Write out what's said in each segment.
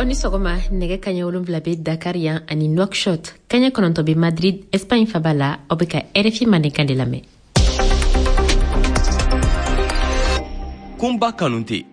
Aw ni sɔgɔma. Nɛgɛ kaɲɛ 7 bɛ Dakar yan ani Nouakchott, kaɲɛ 9 bɛ Madrid, Espagne faba la. Aw bɛ ka RFI Mandenkan de lamɛn. Kunba Kanute.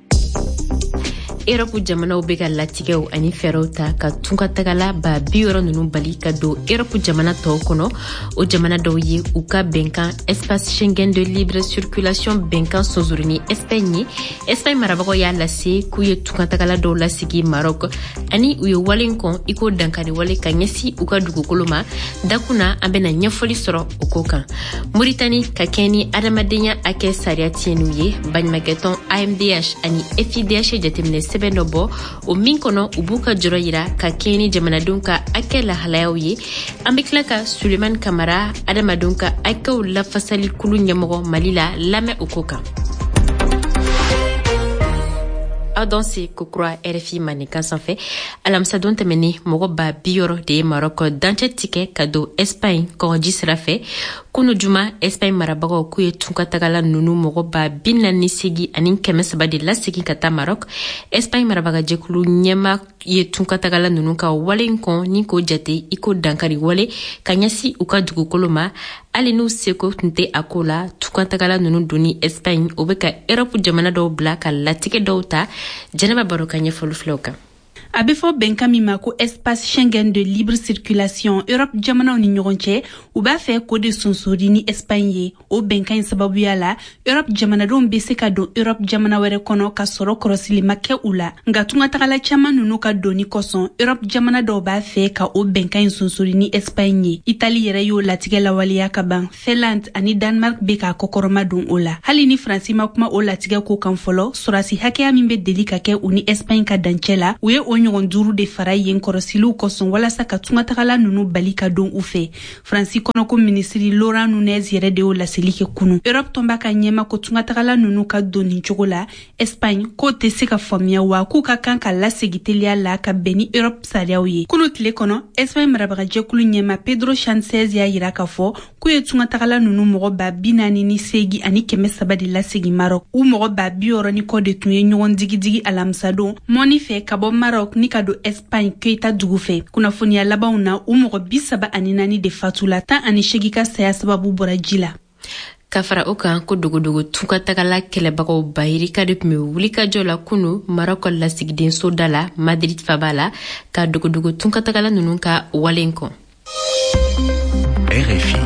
Erɔpu jamanaw bɛ ka latigɛw ani fɛɛrɛw ta ka tungatagala 60 000 ninnu bali ka don Erɔpu jamana tɔw kɔnɔ. O jamana dɔw ye u ka bɛnkan espace Schengen de libre circulation bɛnkan sonsori ni Espagne ye. Espagne marabagaw y'a lase k'u ye tungatagala dɔw lasegi Maroc, ani u ye wale kɔn i ko dankari wale ka ɲɛsin u ka dugukolo ma. Dakun na, an bɛna ɲɛfɔli sɔrɔ o ko kan. Moritani, ka kɛɲɛ ni adamadenya hakɛ sariya tiɲɛniw ye, baɲumakɛtɔn AMDH ani FIDH jateminɛ sɛbɛn dɔ bɔ, o min kɔnɔ u b'u ka jɔrɔ yira ka kɛɲɛ ni jamanadenw ka hakɛ lahalayaw ye. An bɛ tila ka Sulemani Kamara, adamadenw ka hakɛw lafasali kulu ɲɛmɔgɔ Mali la, lamɛn o ko kan. Aw danse kokura RFI Mandenkan sanfɛ. Alamisadon tɛmɛnen, mɔgɔ 60 000 de ye Marɔk dancɛ tigɛ ka don Espagne kɔgɔji sira fɛ. Kunu juma, Espagne marabagaw k'u ye tungatagala nunu mɔgɔ 48 300 de lasegin ka taa Marɔk. Espagne marabagajɛkulu ɲɛma ye tungatagala nunu ka wale kɔn ni k'o jate i ko dankari wale ka ɲɛsin u ka dugukolo ma, hali n'u seko tun tɛ a ko la. Tungatagala nunu donni Espagne, o bɛ ka Erɔpu jamana dɔw bila ka latigɛ dɔw ta. Jɛnɛba Baro ka ɲɛfɔli filɛw kan. A bɛ fɔ bɛnkan min ma ko espace Schengen de libre circulation Europe jamanaw ni ɲɔgɔn cɛ, u b'a fɛ k'o de sonsori ni Espagne ye. O bɛnkan in sababuya la, Europe jamanadenw bɛ se ka don Europe jamana wɛrɛ kɔnɔ ka sɔrɔ kɔrɔsili ma kɛ u la. Nka tungatagala caman ninnu ka donni kosɔn, Europe jamana dɔw b'a fɛ ka o bɛnkan in sonsori ni Espagne ye. Itali yɛrɛ y'o latigɛ lawaleya ka ban. Finlande ani Danemark bɛ k'a kɔkɔrɔma don o la. Hali ni Faransi ma kuma o latigɛ ko kan fɔlɔ, sɔrɔdasi hakɛya min bɛ deli ka kɛ u ni Espagne ka dancɛ la, u ye o ɲɔgɔn duuru de fara yen kɔrɔsiliw kosɔn walasa ka tungatagala ninnu bali ka don u fɛ. Faransi kɔnɔko minisiri Laurent Nunez yɛrɛ de y'o laseli kɛ kunu. Europe tɔnba ka ɲɛma ko tungatagala ninnu ka don nin cogo la Espagne, k'o tɛ se ka faamuya, wa k'u ka kan ka lasegi teliya la ka bɛn ni Europe sariyaw ye. Kunu tile kɔnɔ, Espagne marabagajɛkulu ɲɛma Pedro Sanchez y'a yira k'a fɔ k'u ye tungatagala ninnu mɔgɔ 48 300 de lasegi Maroc. U mɔgɔ 60 000 ni kɔ de tun ye ɲɔgɔn digidigi alamisadon mɔni fɛ ka bɔ Maroc ni ka don Espagne Keyita dugu fɛ. Kunnafoniya labanw na, u mɔgɔ 34 de fatula, 18 ka saya sababu bɔra ji la. Ka fara o kan, ko dogodogo tungatagala kɛlɛbagaw bayirika de tun bɛ wulikajɔ la kunu Marɔk lasigidenso da la Madrid faba la, ka dogodogo tungatagala ninnu ka wale kɔn. RFI.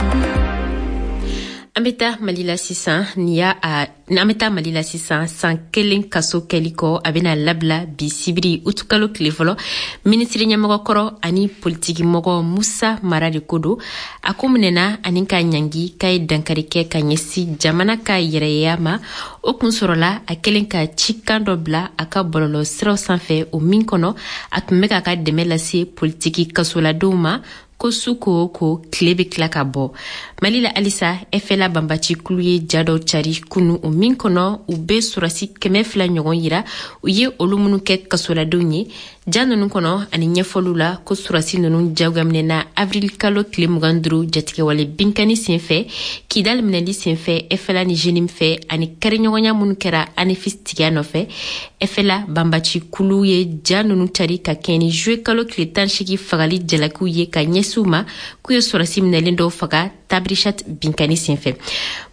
An bɛ taa Mali la sisan. Nin y'a a an bɛ taa Mali la sisan. San kelen kaso kɛli kɔ, a bɛna labila bi sibiri utukalo tile fɔlɔ. Minisiri ɲɛmɔgɔ kɔrɔ ani politikimɔgɔ Musa Mara de ko don. A ko minɛna ani ka ɲangi k'a ye dankari kɛ ka ɲɛsin jamana ka yɛrɛya ma. O kun sɔrɔla a kelen ka cikan dɔ bila a ka bɔlɔlɔ siraw sanfɛ, o min kɔnɔ a tun bɛ k'a ka dɛmɛ lase politiki kasoladenw ma, ko su ko o ko, tile bɛ tila ka bɔ. Mali la halisa, FLA banbaci kulu ye ja dɔ cari kunu, o min kɔnɔ u bɛ sɔrɔdasi 200 ɲɔgɔn yira, u ye olu minnu kɛ kasoladenw ye. Ja ninnu kɔnɔ ani ɲɛfɔliw la, ko sɔrɔdasi ninnu jagoyaminɛna avril kalo tile 25 jatigɛwale binkani senfɛ, Kidal minɛli senfɛ FLA ni JNIM fɛ, ani kariɲɔgɔnya minnu kɛra Anefis tigiya nɔfɛ. FLA banbaci kulu ye ja ninnu cari ka kɛɲɛ ni juillet kalo tile 18 fagali jalakiw ye ka ɲɛsin u ma, k'u ye sɔrɔdasi minɛlen dɔw faga Tabrichat binkani senfɛ.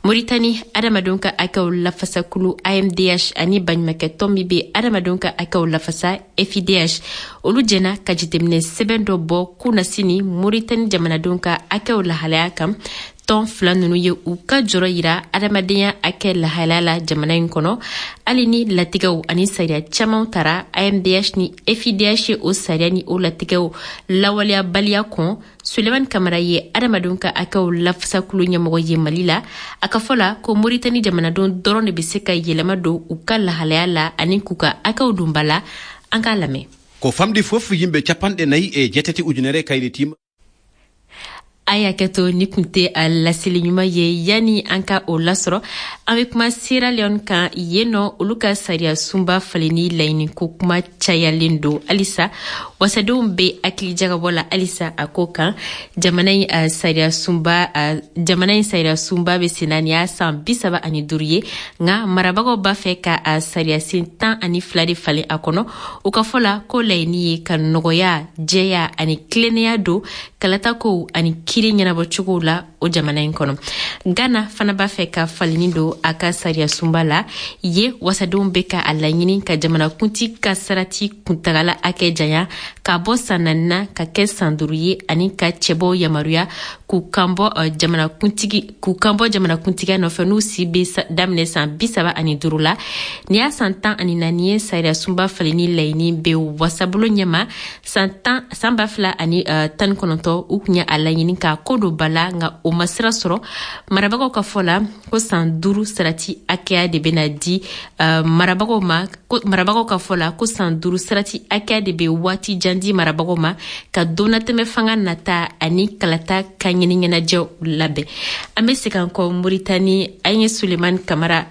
Moritani, adamadenw ka hakɛw lafasakulu AMDH ani baɲumakɛtɔn min bɛ adamadenw ka hakɛw lafasa FIDH, olu jɛna ka jateminɛ sɛbɛn dɔ bɔ kunasini Moritani jamanadenw ka hakɛw lahalaya kan. Tɔn fila ninnu ye u ka jɔrɔ yira adamadenya hakɛ lahalaya la jamana in kɔnɔ, hali ni latigɛw ani sariya camanw tara. AMDH ni FIDH ye o sariya ni o latigɛw lawaleyabaliya kɔn. Sulemani Kamara ye adamadenw ka hakɛw lafasakulu ɲɛmɔgɔ ye Mali la. A ka fɔ la ko Moritani jamanadenw dɔrɔn de bɛ se ka yɛlɛma don u ka lahalaya la ani k'u ka hakɛw don ba la. An k'a lamɛn. Ko famɗi fof yimɓe 48 ujunere kaylitima. A y'a kɛ to ni kun tɛ a laseli ɲuman ye. Yanni an ka o lasɔrɔ, an bɛ kuma Sierra Leone kan. Yen nɔ, olu ka sariya sunba falenni laɲini ko kuma cayalen don halisa. Wasadenw bɛ hakili jagabɔ la halisa a ko kan. Jamana in sariya sunba, jamana in sariya sunba bɛ senna nin y'a san 35 ye, nka marabagaw b'a fɛ ka a sariya sen 12 de falen a kɔnɔ. U ka fɔ la ko laɲini ye ka nɔgɔya, jɛya ani tilennenya don kalatakow ani kiri ɲɛnabɔcogow la o jamana in kɔnɔ. Ghana fana b'a fɛ ka falenni don a ka sariya sunba la. Ye wasadenw bɛ ka a laɲini ka jamanakuntigi ka sarati kuntagala hakɛ janya ka bɔ san 4 na ka kɛ san 5 ye, ani ka cɛbɔw yamaruya k'u kanbɔ jamanakuntigi k'u kanbɔ jamanakuntigiya nɔfɛ n'u si bɛ daminɛ san 35 la. Nin y'a san 14 ye sariya sunba falenni laɲini bɛ wasabolo ɲɛma. San tan san 2019, u tun ye a laɲini k'a ko don ba la, nka o ma sira sɔrɔ. Marabagaw ka fɔ la ko san 5 sarati hakɛya de bɛna di marabagaw ma. Marabagaw ka fɔ la ko san 5 sarati hakɛya de bɛ waati jan di marabagaw ma ka donnatɛmɛ fanga nata ani kalata ka ɲini ɲɛnajɛw labɛn. An bɛ segin an kɔ Moritani. An ye Sulemani Kamara.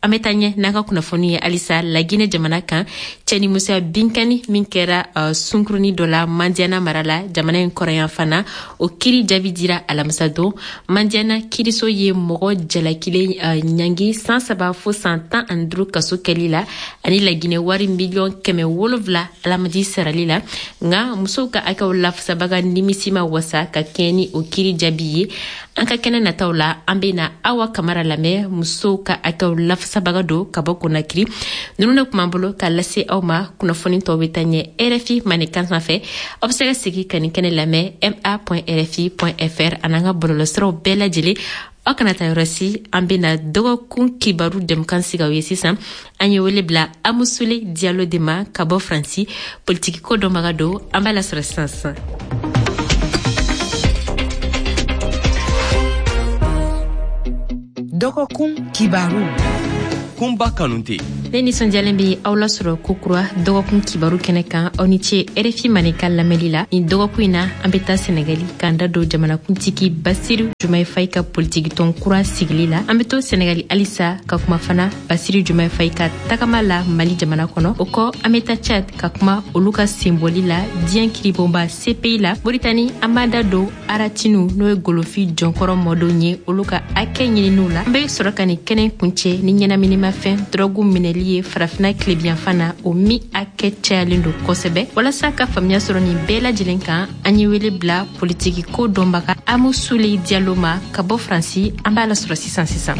An bɛ taa ɲɛ n'an ka kunnafoni ye halisa Laginɛ jamana kan. Cɛnimusoya binkani min kɛra sunkurunin dɔ la Mandiana mara la, jamana in kɔrɔyan fana, o kiri jaabi dira alamisa don. Mandiana kiriso ye mɔgɔ jalakilen ɲangi san 3 fo san 15 kaso kɛli la, ani Laginɛ wari miliyɔn 700 alamadi sarali la. Nka musow ka hakɛw lafasabaga nimisi ma wasa ka kɛɲɛ ni o kiri jaabi ye. An ka kɛnɛ nataw la, an bɛna Awa Kamara lamɛn, musow ka hakɛw lafasabaga don ka bɔ Konakiri. Ninnu de tun b'an bolo ka lase aw ma. Kunnafoni tɔw bɛ taa ɲɛ RFI Maninkan sanfɛ. Aw bɛ se ka segin ka nin kɛnɛ lamɛn ma.rfi.fr ani an ka bɔlɔlɔsiraw bɛɛ lajɛlen. Aw kana taa yɔrɔ si, an bɛna dɔgɔkun kibaru jɛmukan sigi aw ye sisan. An ye wele bila Amusule Diallo de ma ka bɔ Faransi, politiki ko dɔnbaga don. An b'a lasɔrɔ sisan sisan. Dɔgɔkun kibaru. Kunba Kanute. Ne nisɔndiyalen bɛ aw lasɔrɔ kokura dɔgɔkun kibaru kɛnɛ kan. Aw ni ce RFI Maninka lamɛnli la. Nin dɔgɔkun in na, an bɛ taa Sɛnɛgali k'an da don jamanakuntigi Basiru Jumaye Fayi ka politikitɔn kura sigili la. An bɛ to Sɛnɛgali halisa ka kuma fana Basiru Jumaye Fayi ka tagama la Mali jamana kɔnɔ. O kɔ, an bɛ taa Tchad ka kuma olu ka senbɔli la diɲɛ kiribonba CPI la. Moritani, an b'an da don Aratinu, n'o ye golofi jɔnkɔrɔ mɔdenw ye, olu ka hakɛ ɲininiw la. An bɛ sɔrɔ ka nin kɛnɛ kuncɛ ni ɲɛnaminimafɛn dɔrɔgu minɛli ye Farafinna tilebiyanfan na, o min hakɛ cayalen don kosɛbɛ. Walasa ka faamuya sɔrɔ nin bɛɛ lajɛlen kan, an ye wele bila politiki ko dɔnbaga Amusule Diallo ma ka bɔ Faransi. An b'a lasɔrɔ sisan sisan.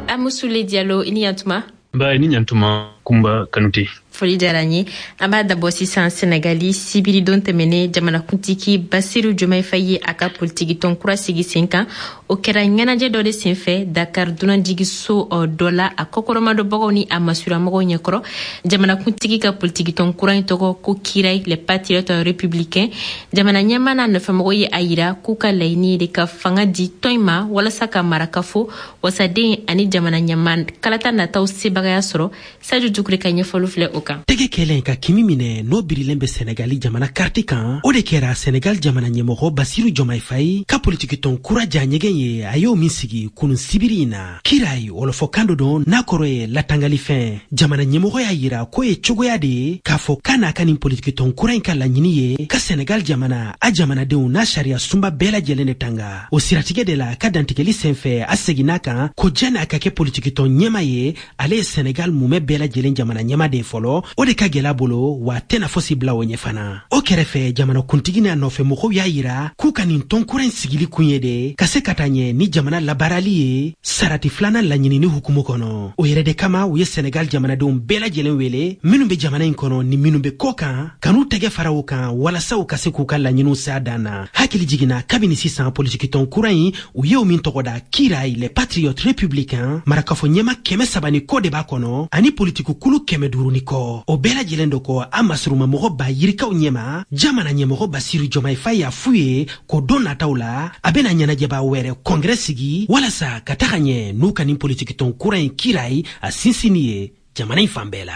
Amusule Diallo, i ni yantuma. Ba, i ni ɲantuma, Kunba Kanute. Foli diyara n ye. An b'a dabɔ sisan Senegali. Sibiridon tɛmɛnen, jamanakuntigi Basiru Jomayi Fayi ye a ka politikitɔn kura sigi sen kan. O kɛra ɲɛnajɛ dɔ de senfɛ Dakar dunanjigiso dɔ la, a kɔkɔrɔmadonbagaw ni a masuramɔgɔw ɲɛkɔrɔ. Jamanakuntigi ka politikitɔn kura in tɔgɔ ko Kiray, les patriotes républicains. Jamana ɲɛmaa n'a nɔfɛmɔgɔw ye a yira k'u ka laɲini ye de ka fanga di tɔn in ma walasa ka marakafo, wasaden ani jamana ɲɛmaa kalata nataw sebagaya sɔrɔ. Sadio Dukure ka ɲɛfɔli filɛ o kan. Tɛgɛ kɛlen ka kimi minɛ n'o birilen bɛ Senegali jamana karti kan, o de kɛra Senegal jamana ɲɛmɔgɔ Basiru Jomayi Fayi ka politikitɔn kura ja ɲɛgɛn ye, a y'o min sigi kunun sibiri in na. Kirayi, wɔlɔfɔkan dɔ don n'a kɔrɔ ye latangalifɛn. Jamana ɲɛmɔgɔ y'a yira k'o ye cogoya de ye k'a fɔ k'a n'a ka nin politikitɔn kura in ka laɲini ye ka Senegal jamana, a jamanadenw n'a sariya sunba bɛɛ lajɛlen de tanga. O siratigɛ de la, ka dantigɛli senfɛ, a seginna kan ko janni a ka kɛ politikitɔn ɲɛma ye, ale ye Senegal mumɛ bɛɛ lajɛlen jamana ɲɛma de fɔlɔ. O de ka gɛlɛ bolo, wa tɛna fosi bila o ɲɛ fana. O kɛrɛfɛ, jamana kuntigi n'a nɔfɛ mɔgɔw y'a yira k'u ka nin tɔn kura in sigili kun ye de ka se ka taa ɲɛ ni jamana labaarali ye sarati filanan laɲinini hukumu kɔnɔ. O yɛrɛ de kama, u ye Senegal jamanadenw bɛɛ lajɛlen wele, minnu bɛ jamana in kɔnɔ ni minnu bɛ kɔ kan, ka n'u tɛgɛ fara o kan walasa u ka se k'u ka laɲiniw s'a dan na. Hakili jiginna, kabini sisan, politikitɔn kura in, u ye o min tɔgɔ da Kirayi, les patriotes républicains, marakafo ɲɛma 300 ni kɔ de b'a kɔnɔ, ani politikikulu 500 ni kɔ. O bɛɛ lajɛlen dɔ kɔ, a masurumamɔgɔ ba yirikaw ɲɛma, jamana ɲɛmɔgɔ Basiru Jomayi Fayi y'a f'u ye ko don nataw la, a bɛna ɲɛnajɛba wɛrɛ kɔngrɛ sigi walasa ka taga ɲɛ n'u ka nin politikitɔn kura in Kirayi a sinsinni ye. Jamana in fan bɛɛ la.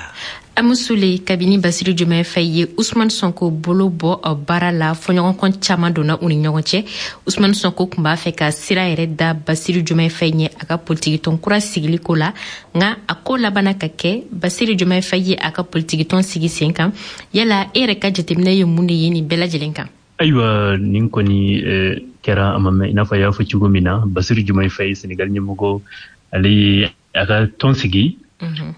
Amusule, kabini Basiru Jomayi Fayi ye Usumani Sɔnko bolo bɔ baara la, fɔɲɔgɔnkɔ caman donna u ni ɲɔgɔn cɛ. Usumani Sɔnko tun b'a fɛ ka sira yɛrɛ da Basiru Jomayi Fayi ɲɛ a ka politikitɔn kura sigili ko la, nka a ko labanna ka kɛ Basiru Jomayi Fayi ye a ka politikitɔn sigi sen kan. Yala e yɛrɛ ka jateminɛ ye mun de ye nin bɛɛ lajɛlen kan? Ayiwa, nin kɔni kɛra a ma mɛn. I n'a fɔ a y'a fɔ cogo min na, Basiru Jomayi Fayi, Senegal ɲɛmɔgɔ, ale ye a ka tɔn sigi.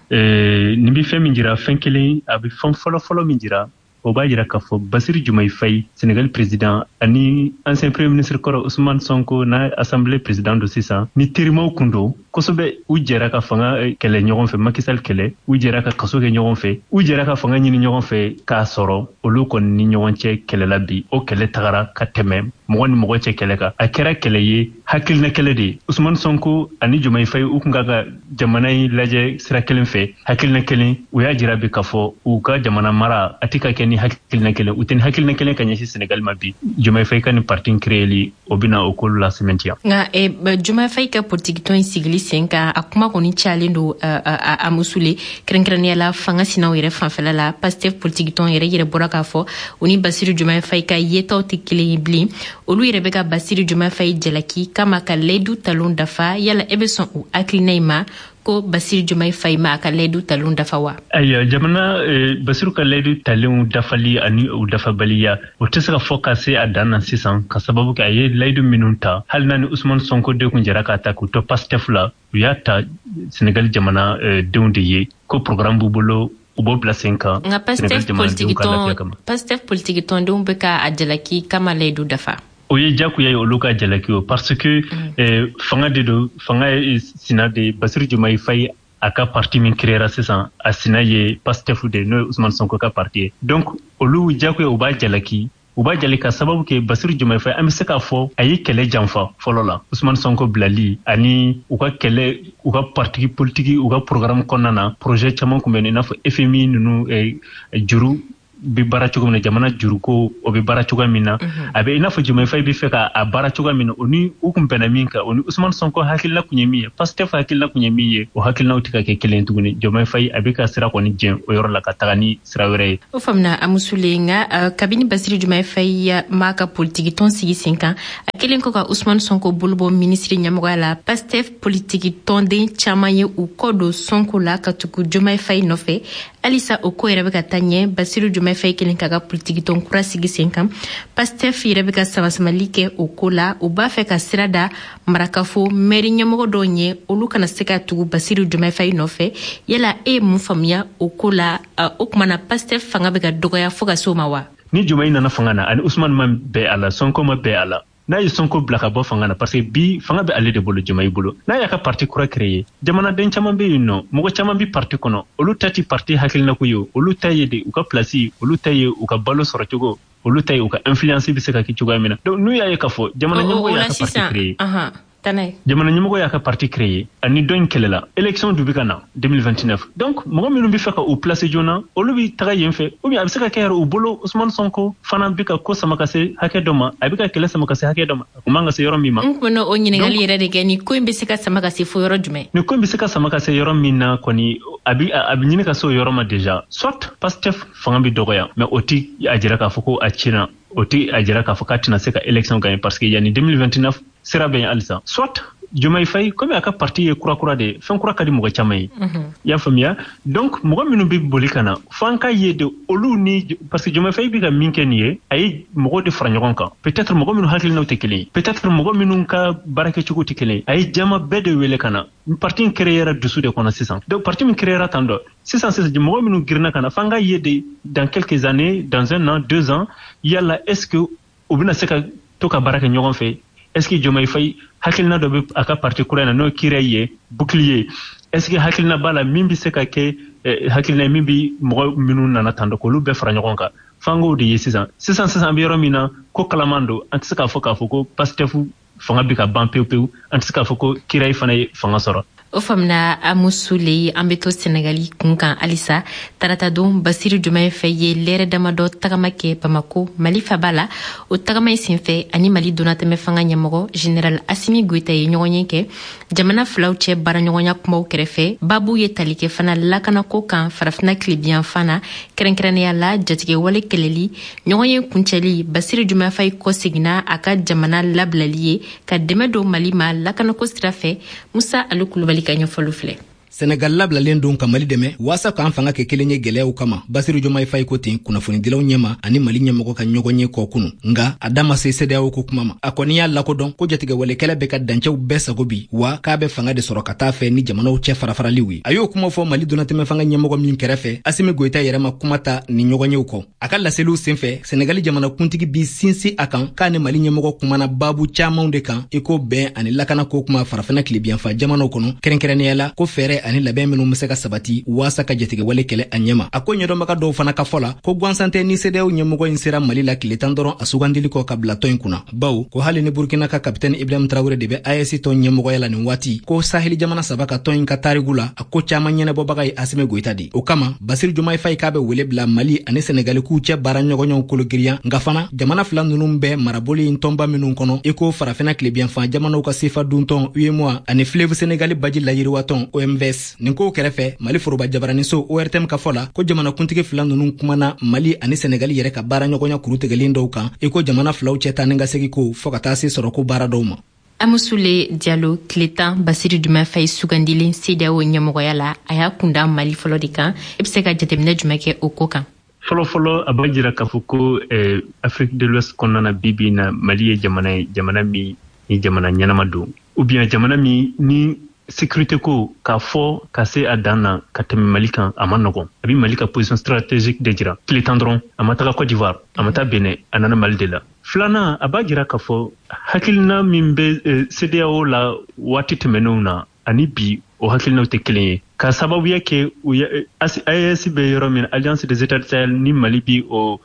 Nin bɛ fɛn min jira, fɛn kelen, a bɛ fɛn fɔlɔ-fɔlɔ min jira, o b'a jira k'a fɔ Basiru Jomayi Fayi, Senegal président, ani ancien premier ministre kɔrɔ Ousmane Sonko, n'a assemblée président don sisan, ni terimaw kun don kosɛbɛ. U jɛra ka fanga kɛlɛ ɲɔgɔn fɛ, Macky Sall kɛlɛ, u jɛra ka kaso kɛ ɲɔgɔn fɛ, u jɛra ka fanga ɲini ɲɔgɔn fɛ k'a sɔrɔ. Olu kɔni ni ɲɔgɔn cɛ kɛlɛla bi, o kɛlɛ tagara ka tɛmɛ mɔgɔ ni mɔgɔ cɛ kɛlɛ kan. A kɛra kɛlɛ ye, hakilina kɛlɛ de ye. Ousmane Sonko ani Jomayi Fayi, u kun ka ka jamana in lajɛ sira kelen fɛ, hakilina kelen. U y'a jira bi k'a fɔ u ka jamana mara a tɛ ka kɛ ni hakilina kelen, u tɛ ni hakilina kelen ka ɲɛsin Senegal ma bi. Jomayi Fayi ka nin parti créeli, o bɛna o ko la sɛmɛntiya. Nka Jomayi Fayi ka politikitɔn in sigili sen kan, a kuma kɔni cayalen don, Amusule, kɛrɛnkɛrɛnnenya la fanga sinaw yɛrɛ fanfɛla la. Pastef politikitɔn yɛrɛ bɔra k'a fɔ u ni Basiru Jomayi Fayi ka yetaw tɛ kelen ye bilen. Olu yɛrɛ bɛ ka Basiru Jomayi Fayi jalaki kama ka layidu talon dafa. Yala e bɛ sɔn o hakilina in ma ko Basiru Jomayi Fayi ma a ka layidu talon dafa wa? Ayiwa, jamana Basiru ka layidu talenw dafali ani u dafabaliya, o tɛ se ka fɔ ka se a dan na sisan, ka sababu kɛ a ye layidu minnu ta, hali n'a ni Usumani Sonko de kun jɛra k'a ta k'u to Pastef la, u y'a ta Senegal jamana denw de ye ko programme b'u bolo, u b'o bila sen kan. Nka Pastef politiki tɔndenw bɛ ka a jalaki kama layidu dafa. O ye jagoya ye olu ka jalaki o, parce que fanga de don, fanga ye sina de. Basiru Jomayi Fayi, a ka parti min créera sisan, a sina ye Pastef de, n'o ye Ousmane Sonko ka parti ye. Donc olu jagoya u b'a jalaki, u b'a jali ka sababu kɛ Basiru Jomayi Fayi, an bɛ se k'a fɔ a ye kɛlɛ janfa fɔlɔ la, Ousmane Sonko bilali ani u ka kɛlɛ, u ka parti politique, u ka programme kɔnɔna na, projet caman kun bɛ yen, i n'a fɔ FMI ninnu juru bɛ baara cogo min na, jamana juruko o bɛ baara cogoya min na. A bɛ i n'a fɔ Jomayi Fayi bɛ fɛ ka a baara cogoya min na, o ni u kun bɛnna min kan, o ni Ousmane Sonko hakilina kun ye min ye, Pastef hakilina kun ye min ye, o hakilinaw tɛ ka kɛ kelen tuguni. Jomayi Fayi a bɛ ka sira kɔni jɛn o yɔrɔ la ka taga ni sira wɛrɛ ye. O faamuna, Amusule. Nka kabini Basiru Jomayi Fayi m'a ka politiki tɔn sigi sen kan, a kelen kɔ ka Ousmane Sonko bolo bɔ minisiri ɲɛmɔgɔya la, Pastef politiki tɔnden caman ye u kɔ don Sonko la ka tugu Jomayi Fayi nɔfɛ. Halisa o ko yɛrɛ bɛ ka taa ɲɛ. Basiru Jomayi Fayi kelen k'a ka politiki tɔn kura sigi sen kan, Pastef yɛrɛ bɛ ka samasamali kɛ o ko la. U b'a fɛ ka sira da marakafo mɛri ɲɛmɔgɔ dɔw ɲɛ, olu kana se ka tugu Basiru Jomayi Fayi nɔfɛ. Yala e ye mun faamuya o ko la? O tuma na Pastef fanga bɛ ka dɔgɔya fo ka se o ma wa? Ni Jomayi nana fanga na, ani Usumani ma bɛn a la, Sonko ma bɛn a la, n'a ye Sonko bila ka bɔ fanga na, parce que bi fanga bɛ ale de bolo, Jomayi bolo, n'a y'a ka parti kura créer, jamanaden caman bɛ yen nɔ, mɔgɔ caman bɛ parti kɔnɔ, olu ta ti parti hakilinako ye, olu ta ye de u ka place, olu ta ye u ka balo sɔrɔ cogo, olu ta ye u ka influence bɛ se ka kɛ cogoya min na. Donc n'u y'a ye k'a fɔ jamana ɲɛmɔgɔ y'a ka parti créer, jamana ɲɛmɔgɔ y'a ka parti créer, ani dɔ in kɛlɛla, élection du bɛ ka na 2029, donc mɔgɔ minnu bɛ fɛ ka u placer joona, olu bɛ taga yen fɛ, ou bien a bɛ se ka kɛ yɛrɛ u bolo Ousmane Sonko fana bɛ ka ko sama ka se hakɛ dɔ ma, a bɛ ka kɛlɛ sama ka se hakɛ dɔ ma, a kun man ka se yɔrɔ min ma. N kun bɛ o ɲininkali yɛrɛ de kɛ: ni ko in bɛ se ka sama ka se fo yɔrɔ jumɛn? Ni ko in bɛ se ka sama ka se yɔrɔ min na kɔni, a bɛ ɲini ka se o yɔrɔ ma déjà. Soit Pastef fanga bɛ dɔgɔya, mais o ti a jira k'a fɔ ko a cinna, o ti a jira k'a fɔ k'a tɛna se ka élection gagner, parce que yanni 2029 sira bɛ yen halisa. Soit Jomayi Fayi, komi a ka parti ye kura kura de ye, fɛn kura ka di mɔgɔ caman ye, i y'a faamuya. Donc mɔgɔ minnu bɛ boli ka na, f'an ka ye de olu ni, parce que Jomayi Fayi bɛ ka min kɛ nin ye, a ye mɔgɔw de fara ɲɔgɔn kan, peut-être mɔgɔ minnu hakilinaw tɛ kelen ye, peut-être mɔgɔ minnu ka baarakɛcogo tɛ kelen ye. A ye jama bɛɛ de wele ka na. Parti in créera dusu de kɔnɔ sisan. Donc parti min créera tan dɔ sisan sisan, mɔgɔ minnu girinna ka na, f'an ka ye de dans quelques années, dans un an, 2 ans, yala est ce que u bɛna se ka to ka baara kɛ ɲɔgɔn fɛ? Est ce que Jomayi Fayi hakilina dɔ bɛ a ka parti kura in na, n'o ye Kira ye, bouclier, est ce que hakilina b'a la min bɛ se ka kɛ hakilina ye min bɛ mɔgɔ minnu nana tan dɔ k'olu bɛɛ fara ɲɔgɔn kan? F'an k'o de ye sisan sisan sisan. An bɛ yɔrɔ min na, ko kalaman don. An tɛ se k'a fɔ ko Pastef fanga bɛ ka ban pewu pewu, an tɛ se k'a fɔ ko Kirayi fana ye fanga sɔrɔ. O faamuna Amusule. An bɛ to Senegali kun kan halisa. Taratadon, Basiru Diomaye Faye ye lɛrɛ damadɔ tagama kɛ Bamako, Mali faba la. O tagama in senfɛ, ani Mali donnatɛmɛ fanga ɲɛmɔgɔ Général Asimi Goïta ye ɲɔgɔnye kɛ. Jamana filaw cɛ baaraɲɔgɔnya kumaw kɛrɛfɛ, babu ye tali kɛ fana lakanako kan Farafina tilebiyanfan na, kɛrɛnkɛrɛnnenya la jatigɛwale kɛlɛli. Ɲɔgɔnye kuncɛli, Basiru Diomaye Faye kɔseginna a ka jamana labilali ye ka dɛmɛ don Mali ma lakanako sira fɛ. Musa Ali Kulubali ka ɲɛfɔliw filɛ. Senegal labilalen don ka Mali dɛmɛ waasa k'an fanga kɛ kelen ye gwɛlɛyaw kama, Basiru Jomayi Fayi ko ten kunnafonidilaw ɲɛma ani Mali ɲɛmɔgɔ ka ɲɔgɔn ye kɔ kunu. Nga a da ma se CEDEAO ko kuma ma. A kɔni y'a lakodɔn ko jatigɛwalekɛlɛ bɛ ka dancɛw bɛɛ sago bi, wa k'a bɛ fanga de sɔrɔ ka taa fɛ ni jamanaw cɛ farafaraliw ye. A y'o kuma fɔ Mali donnatɛmɛ fanga ɲɛmɔgɔ min kɛrɛfɛ, Asimi Goyita yɛrɛ ma kuma ta ni ɲɔgɔnyew kɔ. A ka laseliw senfɛ, Senegali jamanakuntigi bi sinsin a kan k'a ni Mali ɲɛmɔgɔ kumana baabu camanw de kan, i ko bɛn ani lakanako kuma Farafina tilebiyanfa jamanaw kɔnɔ, kɛrɛnkɛrɛnnenya la ko fɛɛrɛ ani labɛn minnu bɛ se ka sabati waasa ka jatigɛwale kɛlɛ a ɲɛma. A ko ɲɛdɔnbaga dɔw fana ka fɔ la ko gansan tɛ ni CEDEAO ɲɛmɔgɔ in sera Mali la tile 10 dɔrɔn a sugandili kɔ ka bila tɔn in kunna, bawo ko hali ni Burkina ka kapitɛni Ibrahim Traoré de bɛ AES tɔn ɲɛmɔgɔya la nin waati, ko Saheli jamana saba ka tɔn in ka tarigu la, a ko caman ɲɛnabɔbaga ye Asimi Goyita de. O kama, Basiru Jomayi Fayi k'a bɛ wele bila Mali ani Senegali k'u cɛ baara ɲɔgɔnɲɔgɔn kologiriya. Nka fana, jamana fila ninnu bɛ marabolo in tɔnba minnu kɔnɔ, i ko Farafina tilebiyanfan jamanaw ka sefa duntɔn UEMOA ani Fleuve Senegali baji layiriwatɔn OMVS. Nin kow kɛrɛfɛ, Mali foroba jabaraniso ORTM ka fɔ la ko jamanakuntigi fila ninnu kumana Mali ani Senegali yɛrɛ ka baara ɲɔgɔnya kurutigɛlen dɔw kan, i ko jamana filaw cɛ taa ni ka segi ko, fɔɔ ka taa se sɔrɔko baara dɔw ma. Amusule Jalo, tile 10 Basiru Diomaye Faye sugandilen CEDEAO ɲɛmɔgɔya la, a y'a kunda Mali fɔlɔ de kan. I bɛ se ka jateminɛ jumɛn kɛ o ko kan? Fɔlɔfɔlɔ, a b'a jira k'a fɔ ko Afrique de l'Ouest kɔnɔna na, bi bi na, Mali ye jamana ye, jamana min ni jamana ɲɛnama don, ou bien jamana min ni sécurité ko k'a fɔ ka se a dan na ka tɛmɛ Mali kan, a ma nɔgɔn. A bɛ Mali ka position stratégique de jira. Tile 10 dɔrɔn, a ma taga Côte d'Ivoire, a ma taa Benin, a nana Mali de la. Filanan, a b'a jira k'a fɔ hakilina min bɛ CEDEAO la waati tɛmɛnenw na ani bi, o hakilinaw tɛ kelen ye, ka sababuya kɛ AES bɛ yɔrɔ min, Alliance des États du Sahel, ni Mali bi o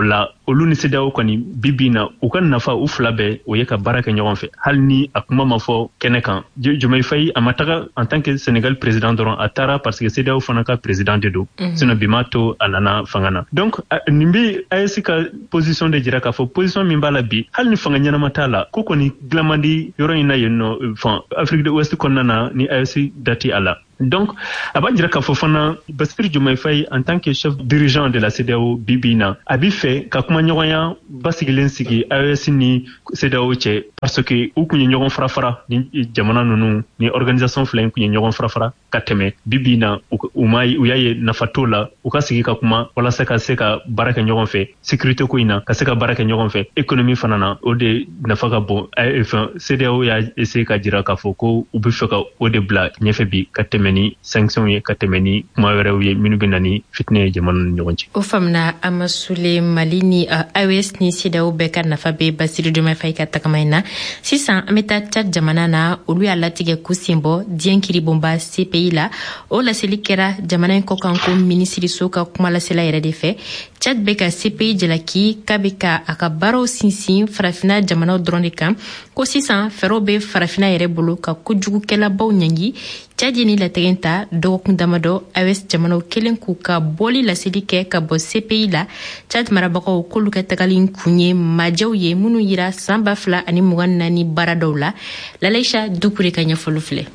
la, olu ni CEDEAO kɔni bi bi na, u ka nafa u fila bɛɛ o ye ka baara kɛ ɲɔgɔn fɛ, hali ni a kuma ma fɔ kɛnɛ kan. Diomaye Faye, a ma taga en tant que Sénégal président dɔrɔn, a taara parce que CEDEAO fana ka président de don, sinon bi m'a to a nana fanga na. Donc nin bɛ AES ka position de jira k'a fɔ position min b'a la bi, hali ni fanga ɲɛnama t'a la, ko kɔni dilan man di yɔrɔ in na yen nɔ, fan Afrique de l'Ouest kɔnɔna na, ni AES dati a la. Donc a b'a jira k'a fɔ fana Bassirou Diomaye Faye, en tant que chef dirigeant de la CEDEAO bi bi na, a bi fɛ ka kuma ɲɔgɔnya basigilen sigi AES ni CEDEAO cɛ, parce que u kun ye ɲɔgɔn fara fara ni jamana ninnu ni organisation fila in kun ye ɲɔgɔn fara fara ka tɛmɛ. Bi bi na, u ma u y'a ye nafa t'o la, u ka sigi ka kuma walasa ka se ka baara kɛ ɲɔgɔn fɛ sécurité ko in na, ka se ka baara kɛ ɲɔgɔn fɛ économie fana na, o de nafa ka bon. Fɛn CEDEAO y'a essayer ka jira k'a fɔ ko u bɛ fɛ ka o de bila ɲɛfɛ bi, ka tɛmɛ ni sanction ye, ka tɛmɛ ni kuma wɛrɛw ye minnu bɛ na ni fitinɛ ye jamana ni ɲɔgɔn cɛ. O faamuna Amasule. Mali ni AES ni CEDEAO bɛɛ ka nafa bɛ Basiru Diomaye Faye ka tagama in na. Sisan an bɛ taa Tchad jamana na. Olu y'a latigɛ k'u sen bɔ diɲɛ kiribonba CPI la. O laseli kɛra jamana in kɔkanko minisiriso ka kuma lasela yɛrɛ de fɛ. Tchad bɛ ka CPI jalaki k'a bɛ ka a ka baaraw sinsin Farafina jamanaw dɔrɔn de kan, ko sisan fɛɛrɛw bɛ Farafina yɛrɛ bolo ka kojugukɛlabaw ɲangi. Tchad ye ni latigɛ ta dɔgɔkun damadɔ AES jamanaw kelen k'u ka bɔli laseli kɛ ka bɔ CPI la. Tchad marabagaw k'olu ka tagali kun ye majɛw ye minnu yira san 2024 baara dɔw la. Lalaisa Dukure ka ɲɛfɔli filɛ.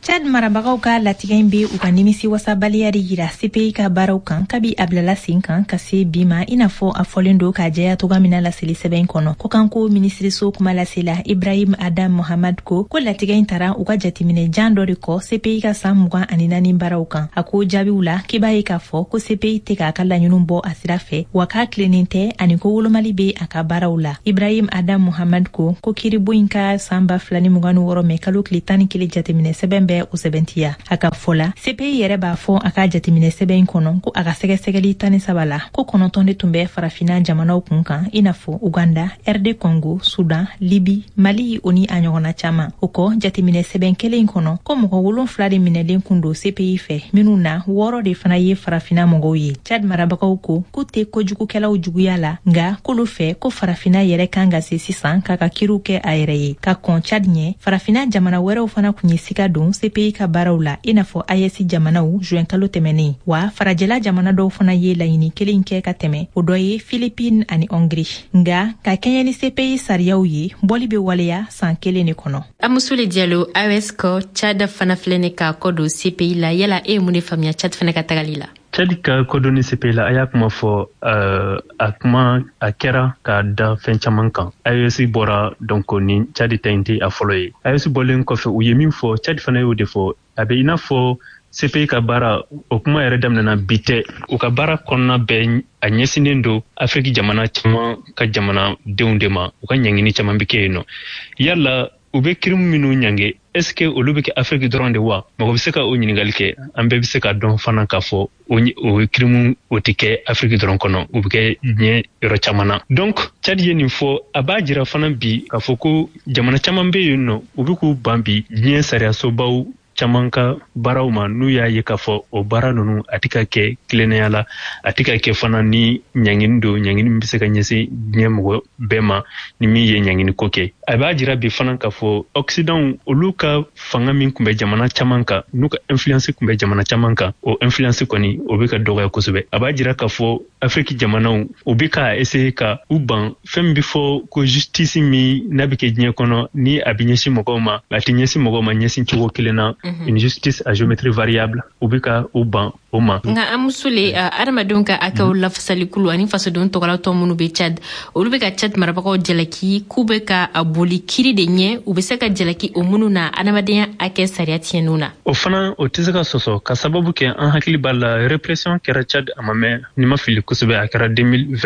Chad marabagaw ka latigɛ in bɛ u ka nimisi wasabaliya de yira CPI ka baaraw kan kabi a bilala sen kan ka se bi ma, i n'a fɔ a fɔlen don k'a jɛya togoya min na laseli sɛbɛn kɔnɔ. Kɔkanko minisiriso kuma lasela Ibrahim Adam Mohamad ko ko latigɛ in tara u ka jateminɛ jan dɔ de kɔ CPI ka san 24 baaraw kan. A ko jaabiw la, k'i b'a ye k'a fɔ ko CPI tɛ k'a ka laɲiniw bɔ a sira fɛ, wa k'a tilennen tɛ, ani ko wolomali bɛ a ka baaraw la. Ibrahim Adam Mohamad ko ko kiiribo in ka san 2026 mɛ kalo tile 11 jateminɛ sɛbɛn bɛ o sɛbɛntiya. A ka fɔ la, CPI yɛrɛ b'a fɔ a ka jateminɛ sɛbɛn in kɔnɔ ko a ka sɛgɛsɛgɛli 13 la, ko 9 de tun bɛ Farafinna jamanaw kun kan, i n'a fɔ Uganda, RD Congo, Sudan, Libi, Mali, o ni a ɲɔgɔnna caman. O kɔ, jateminɛ sɛbɛn kelen in kɔnɔ, ko mɔgɔ wolonfila de minɛlen kun don CPI fɛ, minnu na wɔɔrɔ de fana ye Farafinna mɔgɔw ye. Chad marabagaw ko k'u tɛ kojugukɛlaw juguya la, nka k'olu fɛ ko Farafinna yɛrɛ kan ka se sisan k'a ka kiriw kɛ a yɛrɛ ye. Ka kɔn Chad ɲɛ, Farafinna jamana wɛrɛw fana kun ye sika don. CPI ka baaraw la, i n'a fɔ AES jamanaw, juin kalo tɛmɛnen. Wa farajɛla jamana dɔw fana ye laɲini kelen kɛ ka tɛmɛ, o dɔ ye Philippines ani Hongrie. Nga ka kɛɲɛ ni CPI sariyaw ye, bɔli bɛ waleya san kelen de kɔnɔ. Amusule Diallo, AES kɔ, Tchad fana filɛ ne k'a kɔ don CPI la. Yala e ye mun de faamuya Tchad fana ka tagali la? Tchad ka kɔdonni CPI la, a y'a kuma fɔ, a kuma a kɛra ka da fɛn caman kan. AES bɔra, donc ni Tchad ta in tɛ a fɔlɔ ye. AES bɔlen kɔfɛ, u ye min fɔ, Tchad fana y'o de fɔ. A bɛ i n'a fɔ CPI ka baara, o kuma yɛrɛ daminɛna bi tɛ. U ka baara kɔnɔna bɛɛ a ɲɛsinnen don Afiriki jamana caman ka jamanadenw de ma. U ka ɲangini caman bɛ kɛ yen nɔ. Yala u bɛ kirimu minnu ɲange, est ce que olu bɛ kɛ Afiriki dɔrɔn de wa? Mɔgɔ bɛ se ka o ɲininkali kɛ. An bɛɛ bɛ se ka dɔn fana k'a fɔ o kirimu o tɛ kɛ Afiriki dɔrɔn kɔnɔ, u bɛ kɛ diɲɛ yɔrɔ caman na. Donc Tchad ye nin fɔ, a b'a jira fana bi k'a fɔ ko jamana caman bɛ yen nɔ, u bɛ k'u ban bi diɲɛ sariyasobaw caman ka baaraw ma, n'u y'a ye k'a fɔ o baara ninnu a tɛ ka kɛ tilennenya la, a tɛ ka kɛ fana ni ɲangini don, ɲangini min bɛ se ka ɲɛsin diɲɛ mɔgɔ bɛɛ ma ni min ye ɲangini ko kɛ. A b'a jira bi fana k'a fɔ Occident, olu ka fanga min tun bɛ jamana caman kan, n'u ka influence tun bɛ jamana caman kan, o influence kɔni o bɛ ka dɔgɔya kosɛbɛ. A b'a jira k'a fɔ Afiriki jamanaw, u bɛ ka essayer ka u ban fɛn min bɛ fɔ ko justice min n'a bɛ kɛ diɲɛ kɔnɔ, ni a bɛ ɲɛsin mɔgɔw ma, a tɛ ɲɛsin mɔgɔw ma ɲɛsin cogo kelen na, une justice à géométrie variable, u bɛ ka u ban o ma. Nka Amusule, adamadenw ka hakɛw lafasalikulu ani fasodenw tɔgɔlatɔn minnu bɛ Tchad, olu bɛ ka Tchad marabagaw jalaki k'u bɛ ka a boli kiri de ɲɛ, u bɛ se ka jalaki o minnu na adamadenya hakɛ sariya tiɲɛniw na. O fana o tɛ se ka sɔsɔ, ka sababu kɛ an hakili b'a la, répression kɛra Tchad a ma mɛn, ni ma fili kosɛbɛ, a kɛra 2024.